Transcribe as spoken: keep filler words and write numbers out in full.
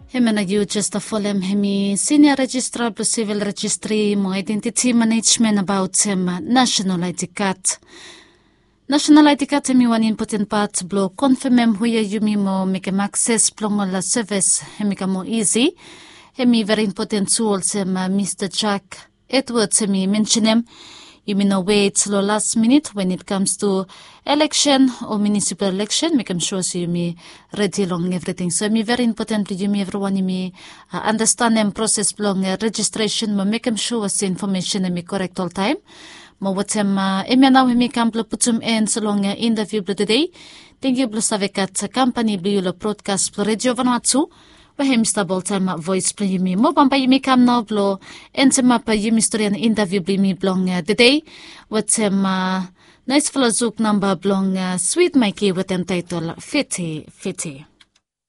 Hemia nao yu jes folem hemi sinia rejistra blong sivil rejistri mo aedentiti manejmen abaot hem nasenal aedi kad. Nasenal aedi kad hemi wan impoten pat blong konfemem huia yumi mo mekem akses blong ol sevis hemi kam moa isi. Hemi veri impoten tu olsem mista jack edwards hemi mensenem, yumi no wet long las minit wen it kams tu eleksen o minisipal eleksen mekem sua se yumi redi long evriting. So hemi veri impoten blong yumi evriwan yumi andastanem proses blong rejistresen mo mekem sua se infomesen hemi korek oltaem. Mo watem hemia nao hemi kam blong putum en long intaviu blong tedei. Tengiu blong save gat kampani blong yu long brodkas blong redio vanua tu, we hemi stap oltaem vois blong yumi. Mo bambae yumi kam nao blong entemap yumi storian intaviu blong yumi blong tedei watem naesfala zuk namba blong swit maiki watem taetol fiti fiti.